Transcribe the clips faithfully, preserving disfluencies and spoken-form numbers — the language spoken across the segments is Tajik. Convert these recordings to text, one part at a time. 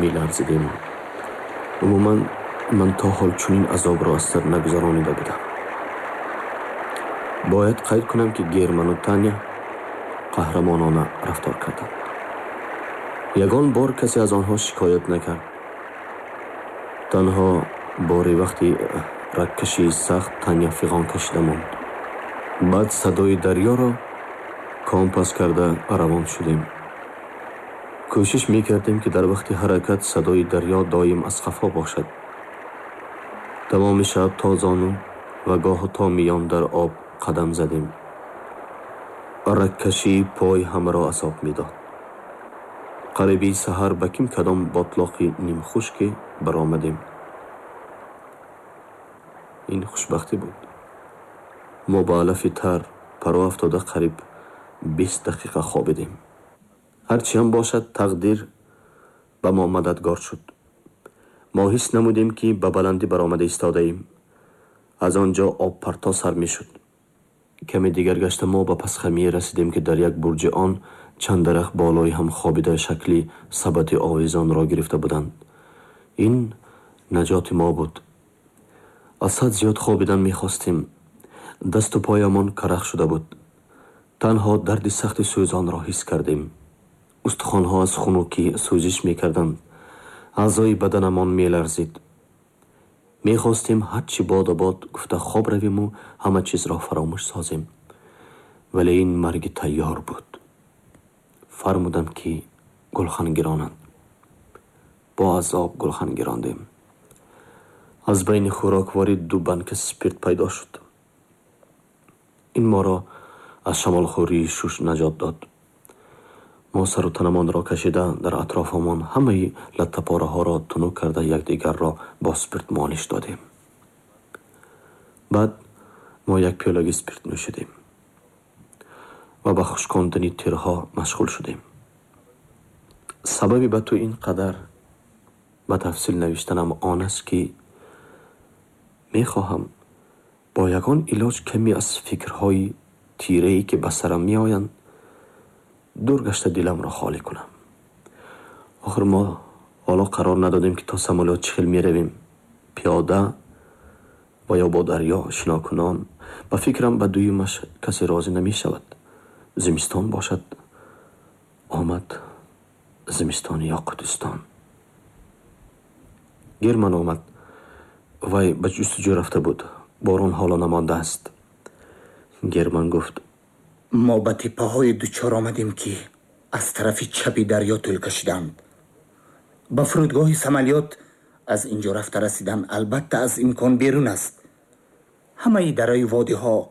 Меларзидем. Умуман, ман то ҳол чунин азобро аз сар нагузаронида будам. Бояд қайд кунам, ки Герману Таня қаҳрамонона рафтор карданд. Ягон бор касе аз онҳо шикоят накард. Танҳо боре, вақти рагкашии сахт, Таня фиғон кашида монд. Баъд садои дарёро компас карда равон шудем. Кӯшиш мекардем, ки дар вақти ҳаракат садои дарё доим аз қафо бошад. Тамоми шаб то зону ва гоҳу то миён дар об қадам задем. Рагкашии пой ҳамаро азоб медод. Қариби саҳар ба ким кадом ботлоқи нимхушке баромадем. Ин хушбахтӣ буд. Мо ба алафи тар паро афтода қариб бист дақиқа хобидем. Ҳарчи ҳам бошад, тақдир ба мо мададгор шуд. Мо ҳис намудем, ки ба баландӣ баромада истодаем. Аз он ҷо обпарто сар мешуд. Каме дигар гашта, мо ба пасхамие расидем, ки дар як бурҷи он чанд дарахт болои ҳам хобида шакли сабати овезонро гирифта буданд. Ин наҷоти мо буд. Аз ҳад зиёд хобидан мехостем. Дасту поямон карах шуда буд. Танҳо дарди сахти сӯзонро ҳис кардем. Устухонҳо аз хунукӣ сӯзиш мекарданд. Аъзои баданамон меларзид. Мехостем ҳарчи бодо бод гуфта хоб равиму ҳама чизро фаромӯш созем, вале ин марги тайёр буд. Фармудам, ки гулхан гиронанд. Бо азоб гулхан гирондем. Аз байни хӯрокворӣ ду банка спирт пайдо шуд. Ин моро аз шамолхӯрии шуш наҷот дод. Мо сару танамонро кашида, дар атрофамон ҳамаи латтапораҳоро тунук карда, якдигарро бо спирт молиш додем. Баъд мо як пиёлаги спирт нӯшидем ва ба хушкондани тирҳо машғул шудем. Сабаби ба ту ин қадар ба тафсил навиштанам он аст, ки мехоҳам бо ягон илоҷ каме аз фикрҳои тирае, ки ба сарам меоянд, дур гашта, диламро холӣ кунам. Охир мо ҳоло қарор надодем, ки то самолёт чӣ хел меравем: пиёда ва ё бо дарё шинокунон. Ба фикрам, ба дуюмаш касе розӣ намешавад. Зимистон бошад, омад зимистони Ёқутистон. Герман омад. Вай ба ҷустуҷӯ рафта буд. Борон ҳоло намондааст. Герман гуфт: Мо ба теппаҳое дучор омадем, ки аз тарафи чапи дарё тӯл кашиданд. Ба фурудгоҳи самолёт аз ин ҷо рафта расидан албатта аз имкон берун аст. Ҳамаи дараю водиҳо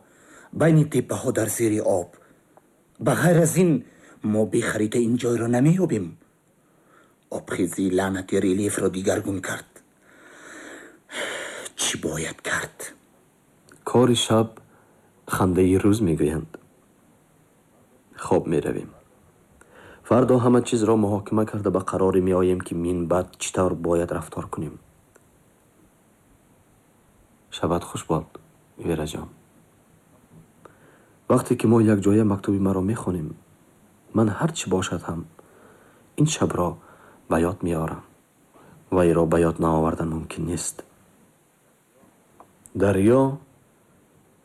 байни теппаҳо дар зери об. Ба ғайр аз ин, мо бехарита ин ҷойро намеёбем. Обхезӣ лаънати релефро дигаргун кард. Чӣ бояд кард? Кори шаб хандаи рӯз мегӯянд. Хоб меравем. Фардо ҳама чизро муҳокима карда, ба қароре меоем, ки минбаъд чӣ тавр бояд рафтор кунем. Шабат хуш бод, Вераҷон. Вақте ки мо якҷоя мактуби маро мехонем, ман ҳар чӣ бошад ҳам ин шабро ба ёд меорам. Вайро ба ёд наовардан мумкин нест. Дарё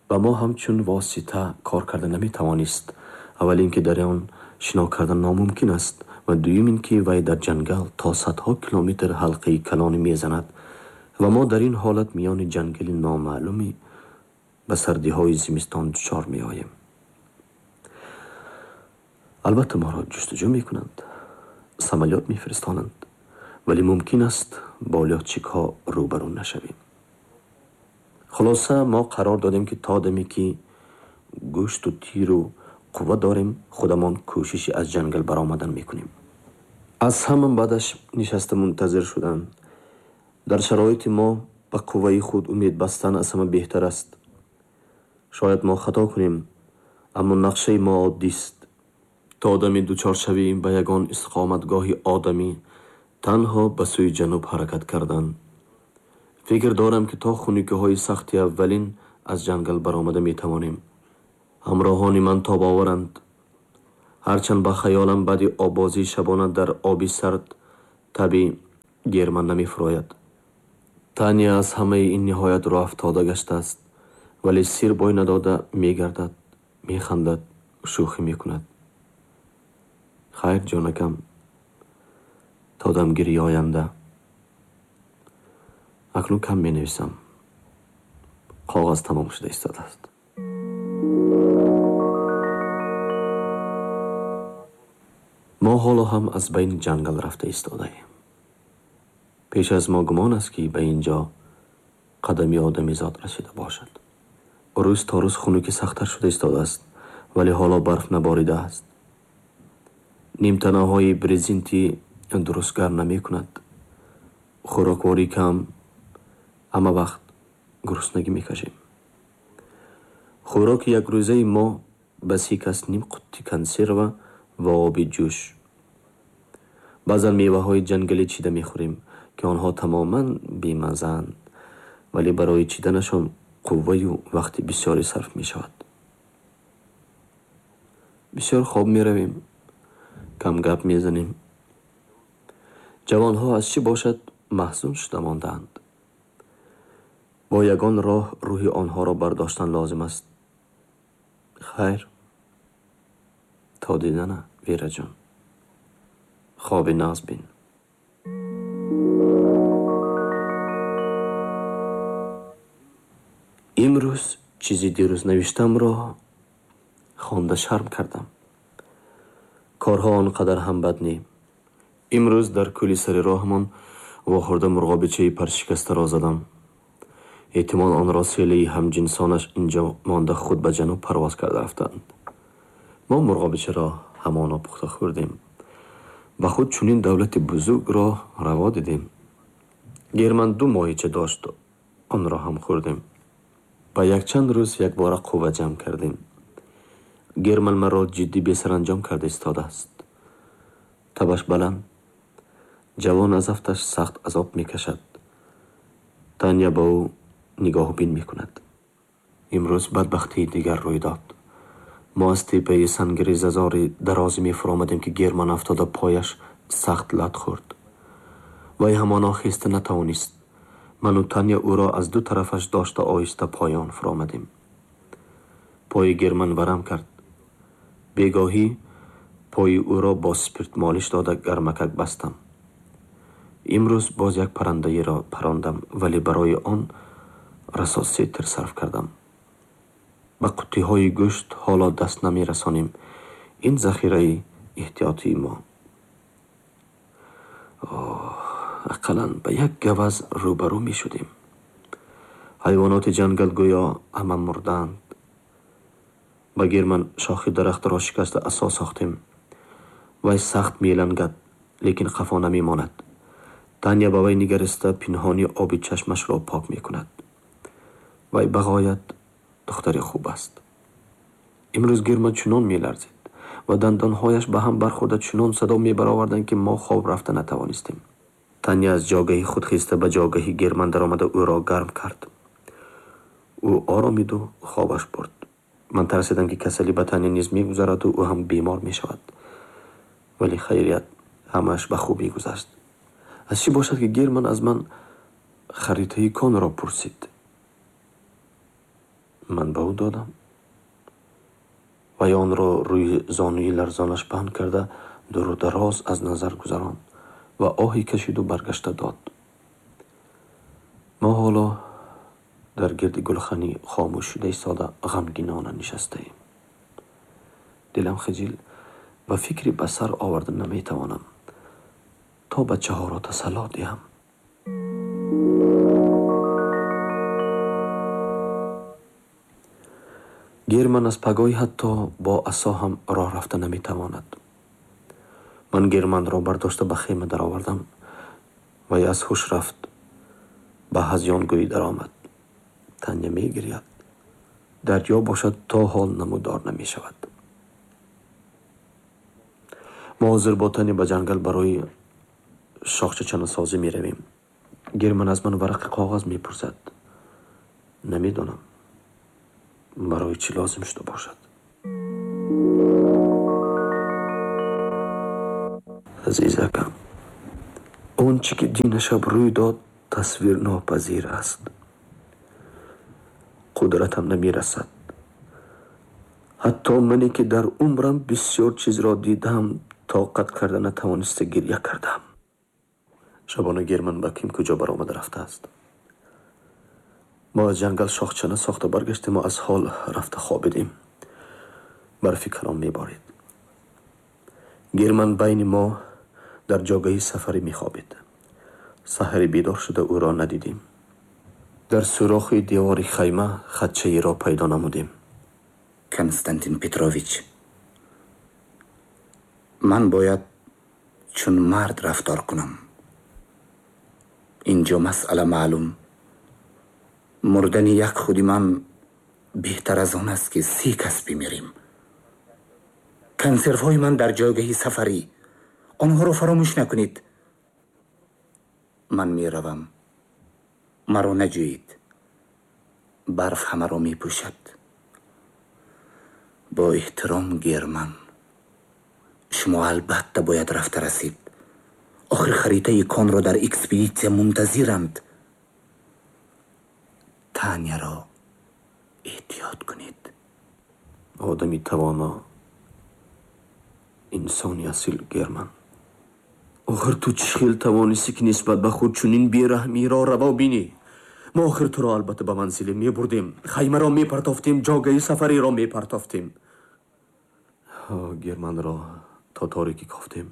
ба мо ҳамчун восита кор карда наметавонист. Аввал ин ки дар он шино кардан номумкин аст ва дуюм ин ки вай дар ҷангал то садҳо километр ҳалқаи калоне мезанад ва мо дар ин ҳолат миёни ҷангали номаълуме ба сардиҳои зимистон дучор меоем. Албатта, моро ҷустуҷӯ мекунанд, самолёт мефиристонанд, вале мумкин аст, бо лётчикҳо рӯбарӯ нашавем. Хулоса, мо қарор додем, ки то даме ки гӯшту тиру қувва дорем, худамон кӯшиши аз ҷангал баромадан мекунем. Аз ҳама баъдаш нишаста мунтазир шудан. Дар шароити мо ба қувваи худ умед бастан аз ҳама беҳтар аст. Шояд мо хато кунем, аммо нақшаи мо оддист: то дами дучоршавӣ ба ягон истиқоматгоҳи одамӣ танҳо ба сӯи ҷануб ҳаракат кардан. Фикр дорам, ки то хунукиҳои сахти аввалин аз ҷангал баромада метавонем. Ҳамроҳони ман тобоваранд. Ҳарчанд ба хаёлам, баъди оббозии шабона дар оби сард таби Герман намефурояд. Таня аз ҳамаи ин ниҳоят рӯҳафтода гаштааст, вале сир бой надода мегардад, механдад, шӯхӣ мекунад. Хайр, ҷонакам, то дамгирии оянда. Акнун кам менависам. Коғаз тамом шуда истодааст. Мо ҳоло ҳам аз байни ҷангал рафта истодаем. Пеш аз мо гумон аст, ки ба ин ҷо қадами одамизод расида бошад. Рӯз то рӯз хунукӣ сахттар шуда истодааст, вале ҳоло барф наборидааст. Нимтанаҳои брезентӣ дуруст гарм намекунад. Хӯрокворӣ кам, ҳама вақт гуруснагӣ мекашем. Хӯроки якрӯзаи мо ба си кас ним қутти консерва ва оби ҷӯш. Баъзан меваҳои ҷангалӣ чида мехӯрем, ки онҳо тамоман бемаззаанд, вале барои чиданашон қувваю вақти бисёре сарф мешавад. Бисёр хоб меравем, кам гап мезанем. Ҷавонҳо аз чӣ бошад маҳзун шуда мондаанд. Бо ягон роҳ рӯҳи онҳоро бардоштан лозим аст. Хайр, то дидана, Вераҷон. Хоби нағз бин. Имрӯз чизи дирӯз навиштамро хонда шарм кардам. Корҳо он қадар ҳам бад не. Имрӯз дар кӯли сари роҳамон вохӯрда мурғобичаи паршикастаро задам. Эҳтимол онро селаи ҳамҷинсонаш инҷо монда худ ба ҷануб парвоз карда рафтаанд. Мо мурғобичаро ҳамоно пухта хӯрдем. Ба худ чунин давлати бузургро раво дидем. Герман ду моҳича дошт, онро ҳам хӯрдем. Ба якчанд рӯз якбора қувва ҷамъ кардем. Герман маро ҷиддӣ бесаранҷом карда истодааст. Табаш баланд. Ҷавон аз афташ сахт азоб мекашад. Таня ба ӯ нигоҳубин мекунад. Имрӯз бадбахтии дигар рӯй дод. Мо аз теппаи сангрезазори дарозе мефуромадем, ки Герман афтода пояш сахт лат хӯрд. Вай ҳамоно хеста натавонист. Ману Таня ӯро аз ду тарафаш дошта оҳиста поён фуромадем. Пои Герман варам кард. Бегоҳӣ пои ӯро бо спирт молиш дода гармакак бастам. Имрӯз боз як паррандаеро парондам, вале барои он расо се тир сарф кардам. Ба қуттиҳои гӯшт ҳоло даст намерасонем. Ин захираи эҳтиётии мо. Оҳ, ақаллан ба як гаваз рӯбарӯ мешудем. Ҳайвоноти ҷангал гӯё ҳама мурдаанд. Ба Герман шохи дарахтро шикаста асо сохтем. Вай сахт мелангад, лекин қафо намемонад. Таня ба вай нигариста пинҳонӣ оби чашмашро пок мекунад. Вай ба ғоят духтари хуб аст. Имрӯз Герман чунон меларзид ва дандонҳояш ба ҳам бархӯрда чунон садо мебароварданд, ки мо хоб рафта натавонистем. Таня аз ҷогаҳи худ хеста ба ҷогаҳи Герман даромада ӯро гарм кард. Ӯ оромиду хобаш бурд. Ман тарсидам, ки касалӣ ба Таня низ мегузараду ӯ ҳам бемор мешавад. Вале хайрият, ҳамааш ба хубӣ гузашт. Аз чӣ бошад, ки Герман аз ман харитаи конро пурсид? Ман ба ӯ додам. Вай онро рӯи зонуи ларзонаш паҳн карда дуру дароз аз назар гузаронд ва оҳе кашиду баргашта дод. Мо ҳоло дар гирди гулхани хомӯш шуда истода ғамгинона нишастаем. Дилам хиҷил ва фикри ба сар оварда наметавонам, то бачаҳоро тасалло диҳам. Герман аз пагоҳӣ ҳатто бо асо ҳам роҳ рафта наметавонад. Ман Германро бардошта ба хема даровардам. Вай аз ҳуш рафт, ба ҳазёнгӯӣ даромад. Таня мегиряд. Дарё бошад то ҳол намудор намешавад. Мо ҳозир бо Таня ба ҷангал барои шохчачанасозӣ меравем. Герман аз ман варақи коғаз мепурсад. Намедонам барои чӣ лозим шуда бошад. Азизакам, Он чӣ ки динашаб рӯй дод, тасвирнопазир аст. Қудратам намерасад. Ҳатто мане ки дар умрам бисёр чизро дидам, тоқат карда натавониста гирья кардам. Шабона Герман ба ким куҷо баромада рафтааст. Мо аз ҷангал шохчана сохта баргаштему аз ҳол рафта хобидем. Барфи калон меборид. Герман байни мо дар ҷогаҳи сафарӣ мехобид. Саҳаре бедор шуда ӯро надидем. Дар сӯрохи девори хайма хатчаеро пайдо намудем. Константин Петрович, ман бояд чун мард рафтор кунам. Инҷо масъала маълум. Мурдани як худи ман беҳтар аз он аст, ки се кас бимирем. Консервҳои ман дар ҷойгаҳи сафарӣ. Онҳоро фаромӯш накунед. Ман меравам. Маро наҷӯед. Барф ҳамаро мепӯшад. Бо эҳтиром, Герман. Шумо албатта бояд рафта расид. Охир харитаи конро дар экспедитсия мунтазиранд. Таняро эҳтиёт кунед. Одами тавоно, инсони асил Герман. Охир ту чӣ хел тавонистӣ, ки нисбат ба худ чунин бераҳмиро раво бинӣ? Мо охир туро албатта ба манзиле мебурдем, хаймаро мепартофтем, ҷогаи сафариро мепартофтем. Германро то торикӣ кофтем.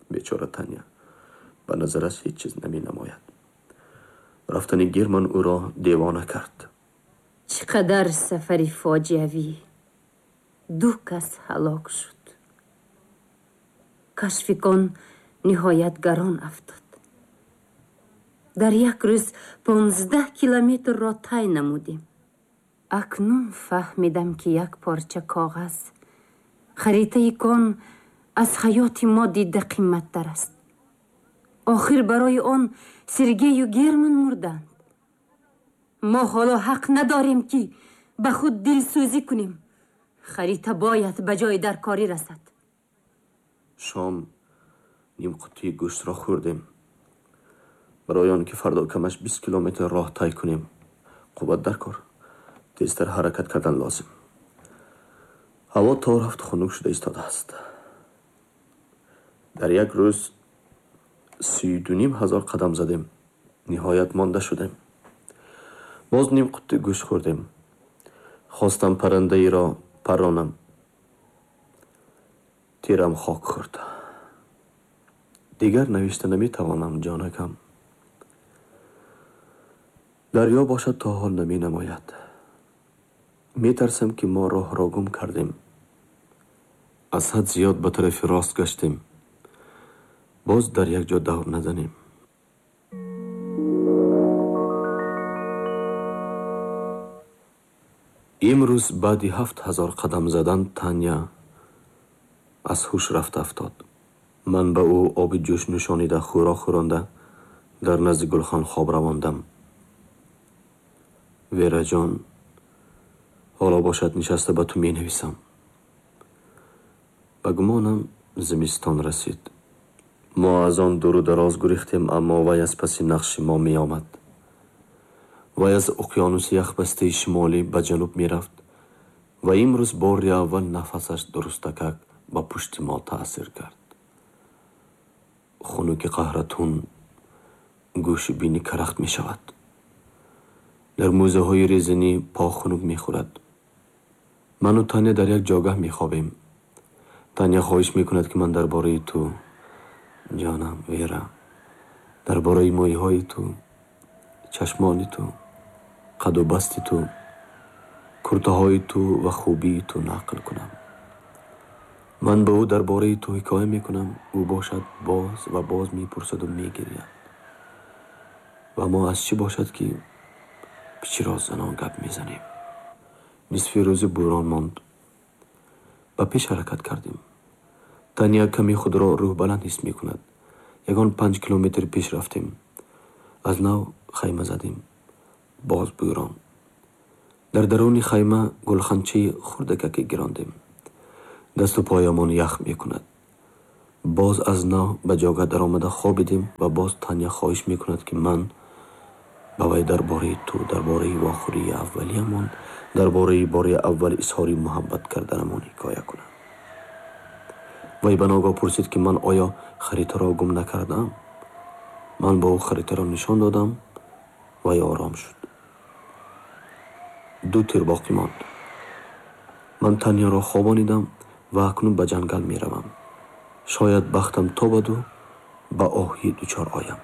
Бечора Таня ба назараш ҳеҷ чиз наменамояд. Рафтани Герман ӯро девона кард. Чӣ қадар сафари фоҷиавӣ! Ду кас ҳалок шуд. Кашфи кон ниҳоят гарон афтод. Дар як рӯз понздаҳ километрро тай намудем. Акнун фаҳмидам, ки як порча коғаз, харитаи кон, аз ҳаёти мо дида қимматтар аст. Охир барои он Сергею Герман мурданд. Мо ҳоло ҳақ надорем, ки ба худ дилсӯзӣ кунем. Харита бояд ба ҷои даркорӣ расад. Шом ним қуттии гӯштро хӯрдем. Барои он ки фардо камаш бист километр роҳ тай кунем, қувват дар кор, тезтар ҳаракат кардан лозим. Ҳаво то рафт хунук шуда истодааст. Дар як рӯз сию дуним ҳазор қадам задем. Ниҳоят монда шудем. Боз ним қутти гӯшт хӯрдем. Хостам паррандаеро парронам. Тирам хок хӯрд. Дигар навишта наметавонам, ҷонакам. Дарё бошад то ҳол наменамояд. Метарсам, ки мо роҳро гум кардем. Аз ҳад зиёд ба тарафи рост гаштем. Боз дар як ҷо давр назанем. Имрӯз баъди ҳафт ҳазор қадам задан Таня аз ҳуш рафта афтод. Ман ба ӯ оби ҷӯш нӯшонида, хӯрок хӯронда, дар назди гулхан хоб равондам. Вераҷон, ҳоло бошад нишаста ба ту менависам. Ба гумонам зимистон расид. Мо аз он дуру дароз гурехтем, аммо вай аз паси нақши мо меомад. Вай аз уқёнуси яхбастаи шимолӣ ба ҷануб мерафт ва имрӯз бори аввал нафасаш дурустакак ба пушти мо таъсир кард. Хунуки қаҳратун гӯши бини карахт мешавад. Дар мӯзаҳои резинӣ по хунук мехӯрад. Ману Таня дар як ҷогаҳ мехобем. Таня хоҳиш мекунад, ки ман дар бораи ту, ҷонам Вера, дар бораи мӯйҳои ту, чашмони ту, қаду басти ту, куртаҳои ту ва хубии ту нақл кунам. Ман ба ӯ дар бораи ту ҳикоя мекунам, ӯ бошад боз ва боз мепурсаду мегиряд. Ва мо аз чӣ бошад, ки пичиро занон гап мезанем. Нисфи рӯзи бӯрон монд. Ба пеш ҳаракат кардем. Таня каме худро рӯҳбаланд ҳис мекунад. Ягон панҷ километр пеш рафтем. Аз нав хайма задем. Боз бӯрон. Дар даруни хайма гулханчаи хурдакаке гирондем. Дасту поямон ях мекунад. Боз аз нав ба ҷога даромада хобидем ва боз Таня хоҳиш мекунад, ки ман ба вай дар бораи ту, дар бораи вохӯрии аввалиямон, дар бораи бори аввал изҳори муҳаббат карданамон ҳикоя кунам. Вай ба ногоҳ пурсид, ки ман оё харитаро гум накардаам? Ман ба ӯ харитаро нишон додам, вай ором шуд. Ду тир боқӣ монд. Ман Таняро хобонидам ва акнун ба ҷангал меравам. Шояд бахтам тобаду ба оҳӣ дучор оям.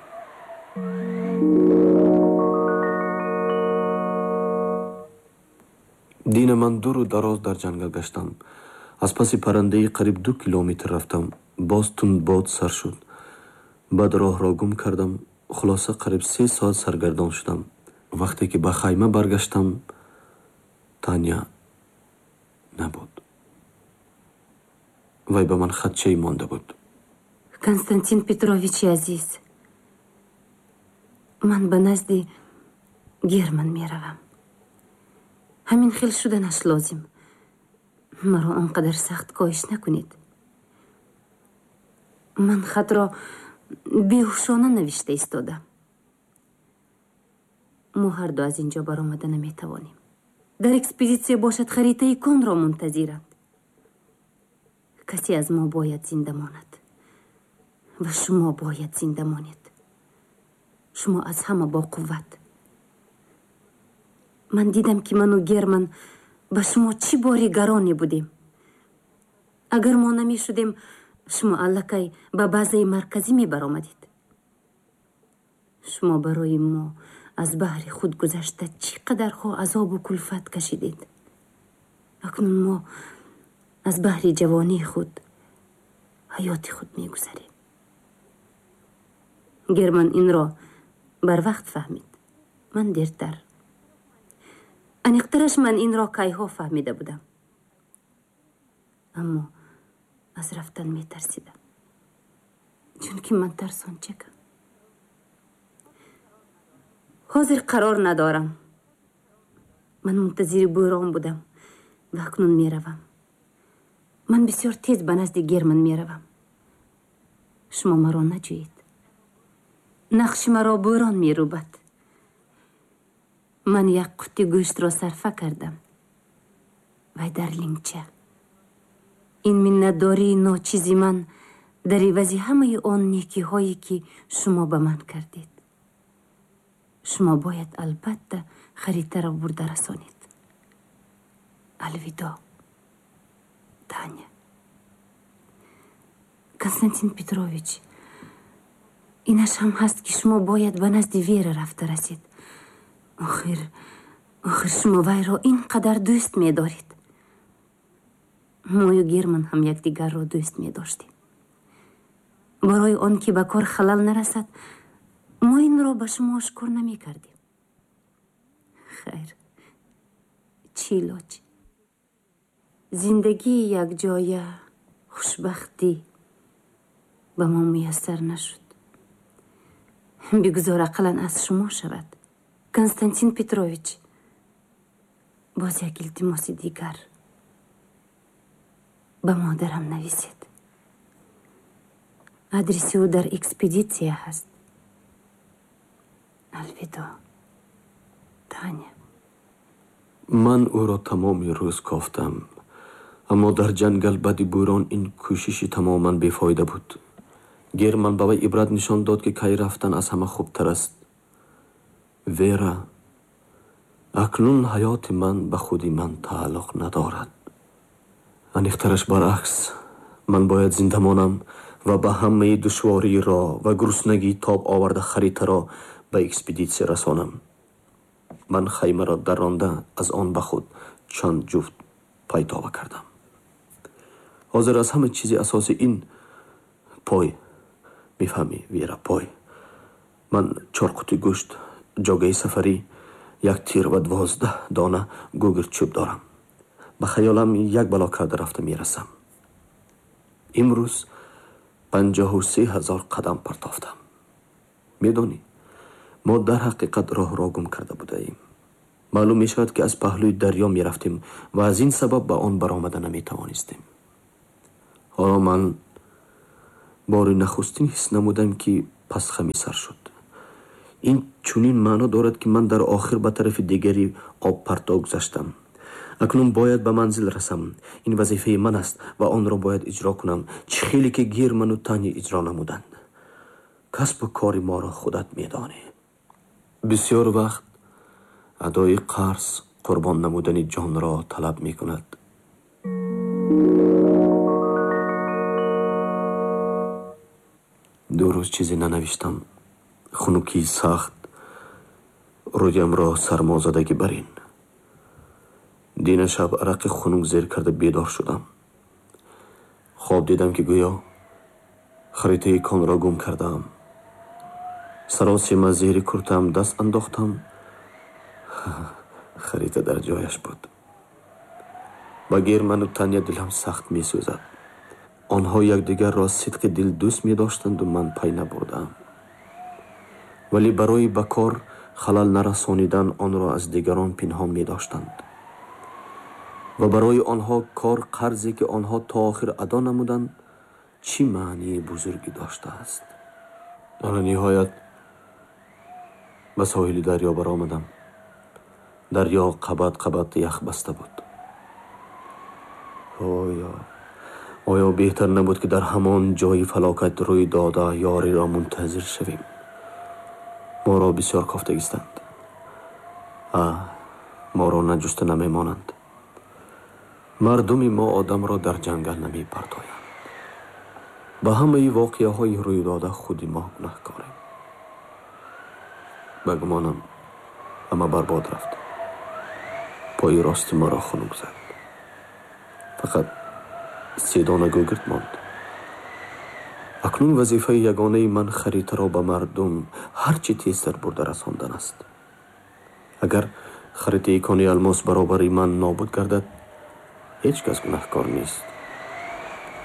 Дина ман дуру дароз дар ҷангал гаштам. Аз паси паррандаи қариб ду километр рафтам. Боз тундбод сар шуд. Баъд роҳро гум кардам. Хулоса қариб се соат саргардон шудам. Вақте ки ба хайма баргаштам, Таня набуд. Вай ба ман хатчае монда буд. Константин Петровичи азиз, ман ба назди Герман меравам. Ҳамин хел шуданаш лозим. Маро он қадар сахт коҳиш накунед. Ман хатро беҳушона навишта истодам. Мо ҳарду аз ин ҷо баромада наметавонем. Дар экспедитсия бошад харитаи конро мунтазиранд. Касе аз мо бояд зинда монад ва шумо бояд зинда монед. Шумо аз ҳама боқувват. Ман дидам, ки ману Герман ба шумо чӣ бори гароне будем. Агар мо намешудем, шумо аллакай ба базаи марказӣ мебаромадед. Шумо барои мо аз баҳри худ гузашта чӣ қадарҳо азобу кулфат кашидед. Акнун мо аз баҳри ҷавонии худ ҳаёти худ мегузарем. Герман инро барвақт фаҳмид, ман дертар. Аниқтараш ман инро кайҳо фаҳмида будам, аммо аз рафтан метарсидам, чунки ман тарсончакам. Ҳозир қарор надорам. Ман мунтазири бӯрон будам ва акнун меравам. Ман бисёр тез ба назди Герман меравам. Шумо маро наҷӯед. Нақши маро бӯрон мерӯбад. Ман як қути гӯштро сарфа кардам. Вай дар лингча. Ин миннатдории ночизи ман дар ивази ҳамаи он некиҳое, ки шумо ба ман кардед. Шумо бояд албатта харитаро бурда расонед. Алвидо, Таня. Константин Петрович, инаш ҳам ҳаст, ки шумо бояд ба назди Вера рафта расед. Охир, охир шумо вайро ин қадар дӯст медоред. Мою Герман ҳам якдигарро дӯст медоштем. Барои он ки ба кор халал нарасад, мо инро ба шумо ошкор намекардем. Хайр, чӣ илоҷ? Зиндагии якҷоя, хушбахтӣ ба мо муяссар нашуд. Бигузор ақаллан аз шумо шавад. Константин Петрович, боз як илтимоси дигар. Ба модарам нависед. Адреси ӯ дар экспедитсия ҳаст. Алвидо, Таня. Ман ӯро тамоми рӯз кофтам, аммо дар ҷангал баъди бӯрон ин кӯшиши тамоман бефоида буд. Герман ба вай ибрат нишон дод, ки кай рафтан аз ҳама хубтар аст. Вера, акнун ҳаёти ман ба худи ман тааллуқ надорад. Аниқтараш баръакс, ман бояд зинда монам ва ба ҳамаи душвориро ва гуруснагӣ тоб оварда харитаро ба экспедитсия расонам. Ман хаймаро даронда аз он ба худ чанд ҷуфт пайтова кардам. Ҳозир аз ҳама чизи асосӣ ин пой. Мефаҳмӣ, Вера, пой. Ман чор қути гӯшт, ҷогаи сафарӣ, як тир ва дувоздаҳ дона гугирд чӯб дорам. Ба хаёлам як бало карда рафта мерасам. Имрӯз панҷоҳу се ҳазор қадам партофтам. Медонӣ, мо дар ҳақиқат роҳро гум карда будаем. Маълум мешавад, ки аз паҳлӯи дарё мерафтем ва аз ин сабаб ба он баромада наметавонистем. Ҳоло ман Бори нахустин ҳис намудам, ки пасхами сар шуд. Ин чунин маъно дорад, ки ман дар охир ба тарафи дигари обпарто гузаштам. Акнун бояд ба манзил расам. Ин вазифаи ман аст ва онро бояд иҷро кунам, чӣ хеле ки Герману Таня иҷро намуданд. Касбу кори моро худат медонӣ. Бисёр вақт адои қарз қурбон намудани ҷонро талаб мекунад. Ду рӯз чизе нанавиштам. Хунукии сахт рӯямро сармозадагӣ барин. Дина шаб арақи хунук зер карда бедор шудам. Хоб дидам, ки гӯё харитаи конро гум кардаам. Саросема зери куртаам даст андохтам. Харита дар ҷояш буд. Ба Герману Таня дилам сахт месӯзад. Онҳо якдигарро сидқи дил дӯст медоштанду ман пай набурдаам. Вале барои ба кор халал нарасонидан онро аз дигарон пинҳон медоштанд. Ва барои онҳо кор қарзе, ки онҳо то охир адо намуданд, чӣ маънии бузургӣ доштааст. Ана ниҳоят ба соҳили дарё баромадам. Дарё қабат қабат ях баста буд. Оё оё беҳтар набуд, ки дар ҳамон ҷои фалокат рӯй дода ёриро мунтазир шавем? Моро бисёр кофтагистанд. А моро наҷуста намемонанд. Мардуми мо одамро дар ҷангал намепартоянд. Ба ҳамаи воқеаҳои рӯйдода худи мо гунаҳкорем. Ба гумонам ҳама барбод рафт. Пои рости маро хунук зад. Фақат се дона гӯгирд монд. Акнун вазифаи ягонаи ман харитаро ба мардум ҳар чӣ тезтар бурда расондан аст. Агар харитаи кони алмос баробари ман нобуд гардад, ҳеҷ кас гунаҳкор нест.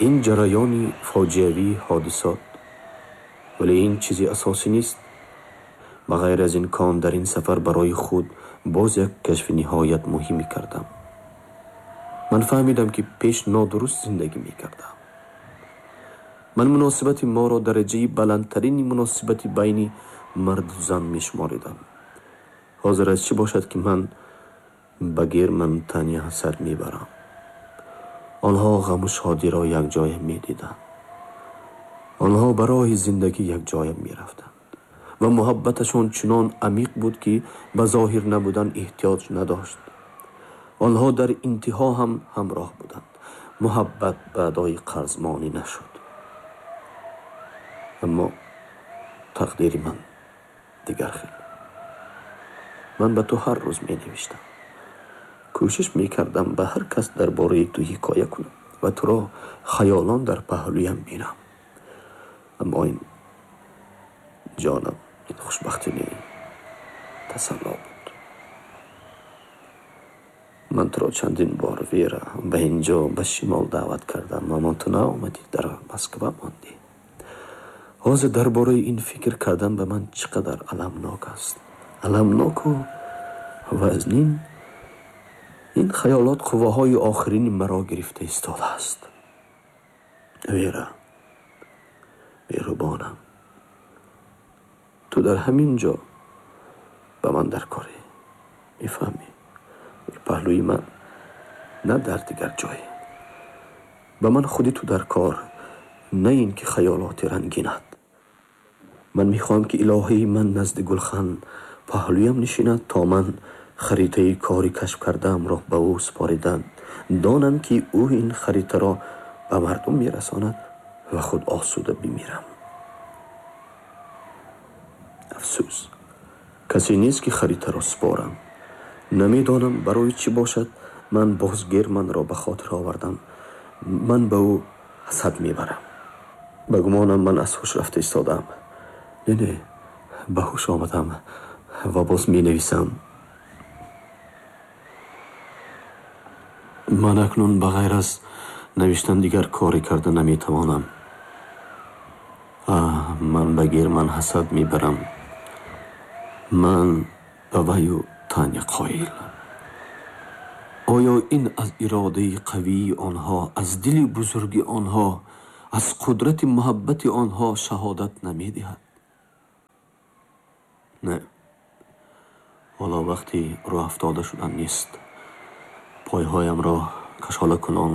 Ин ҷараёни фоҷиавии ҳодисот, вале ин чизи асосӣ нест. Ба ғайр аз ин кон дар ин сафар барои худ боз як кашфи ниҳоят муҳиме кардам. Ман фаҳмидам, ки пеш нодуруст зиндагӣ мекардам. Ман муносибати моро дараҷаи баландтарини муносибати байни марду зан мешуморидам. Ҳозир аз чӣ бошад, ки ман ба Герману Таня ҳасад мебарам? Онҳо ғаму шодиро якҷоя медиданд. Онҳо ба роҳи зиндагӣ якҷоя мерафтанд ва муҳаббаташон чунон амиқ буд, ки ба зоҳир набудан эҳтиёҷ надошт. Онҳо дар интиҳо ҳам ҳамроҳ буданд. Муҳаббат ба адои қарз монӣ нашуд. Аммо тақдири ман дигар хел. Ман ба ту ҳар рӯз менавиштам. Кӯшиш мекардам ба ҳар кас дар бораи ту ҳикоя кунам ва туро хаёлон дар паҳлӯям бинам. Аммо ин ҷонам, ин хушбахтӣ не, тасалло буд. Ман туро чандин бор, Вера, ба ин ҷо ба шимол даъват кардам, аммо ту наомадӣ, дар Москва мондӣ. Ҳозир дар бораи ин фикр кардан ба ман чӣ қадар аламнок аст. Аламноку вазнин. Ин хаёлот қувваҳои охирини маро гирифта истодааст. Вера, меҳрубонам, ту дар ҳамин ҷо ба ман даркорӣ. Мефаҳмӣ? Паҳлӯи ман, на дар дигар ҷое. Ба ман худи ту дар кор, на ин ки хаёлоти рангинат. Ман мехоҳам, ки илоҳаи ман назди гулхан паҳлӯям нишинад, то ман харитаи кори кашф кардаамро ба ӯ супоридам. Донам, ки ӯ ин харитаро ба мардум мерасонад ва худ осуда бимирам. Афсӯс, касе нест, ки харитаро супорам. Намедонам барои чӣ бошад, ман боз Германро ба хотир овардам. Ман ба ӯ ҳасад мебарам. Ба гумонам ман аз ҳуш рафта истодаам. Не, не, ба ҳуш омадам ва боз менависам. Ман акнун ба ғайр аз навиштан дигар коре карда наметавонам. Аҳ, ман ба Герман ҳасад мебарам. Ман ба ваю Таня қоил. Оё ин аз иродаи қавии онҳо, аз дили бузурги онҳо, аз қудрати муҳаббати онҳо шаҳодат намедиҳад. Не, ҳоло вақти рӯҳафтода шудан нест. Пойҳоямро кашолакунон,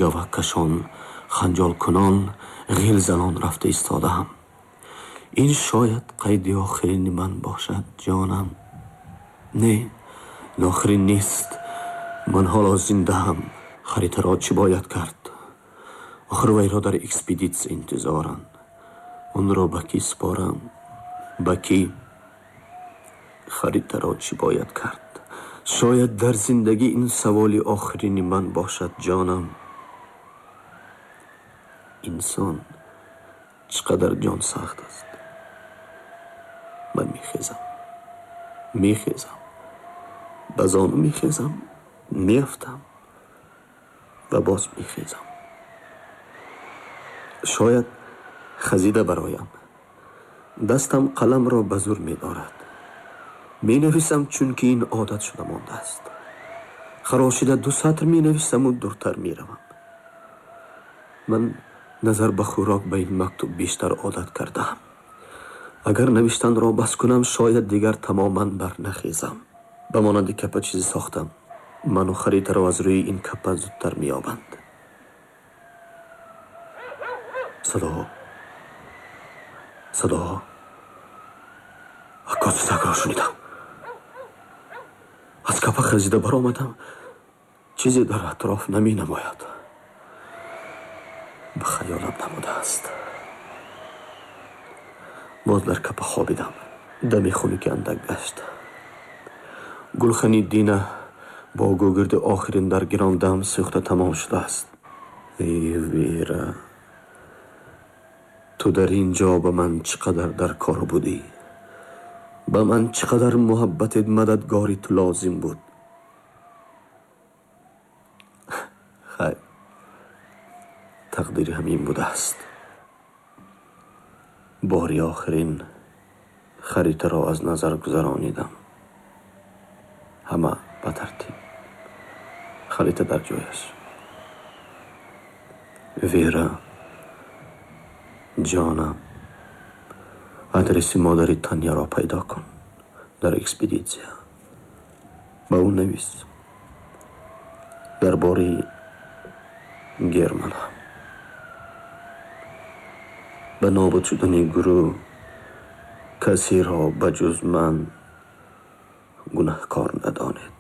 гаваккашон, ханҷолкунон, ғилзанон рафта истодаам. Ин шояд қайди охирини ман бошад, ҷонам. Не, ин охирин нест. Ман ҳоло зиндаам. Харитаро чӣ бояд кард? Охир вайро дар экспедитсия интизоранд. Онро ба кӣ супорам? Ба кӣ? Харитаро чӣ бояд кард? Шояд дар зиндагӣ ин саволи охирини ман бошад, ҷонам. Инсон чӣ қадар ҷонсахт аст. Ман мехезам, мехезам, ба зону мехезам, меафтам ва боз мехезам. Шояд хазида бароям. Дастам қаламро ба зур медорад. Менависам, чунки ин одат шуда мондааст. Харошида ду сатр менависаму дуртар меравам. Ман назар ба хӯрок ба ин мактуб бештар одат кардаам. Агар навиштанро бас кунам, шояд дигар тамоман барнахезам. Ба монанди капа чизе сохтам. Ману харитаро аз рӯи ин капа зудтар меёбанд. Садоҳо, садоҳо. Аккоси сагро шунидам. Аз капа хазида баромадам. Чизе дар атроф наменамояд. Ба хаёлам намудааст. Боз дар капа хобидам. Дами хунуки андак гашт. Гулхани Дина бо гӯгирди охирин дар гирон дам сӯхта тамом шудааст. Эй Вера, ту дар ин ҷо ба ман чӣ қадар дар кор будӣ? Ба ман чӣ қадар муҳаббати мададгори ту лозим буд. Хайр, тақдири ҳамин будааст. Бори охирин харитаро аз назар гузаронидам. Ҳама ба тартиб. Харита дар ҷояш. Вера, ҷонам, адреси модари Таняро пайдо кун дар экспедитсия. Ба ӯ навис. Дар бораи Германа. Ба нобуд шудани гурӯҳ касеро ба ҷуз ман гунаҳкор надонед.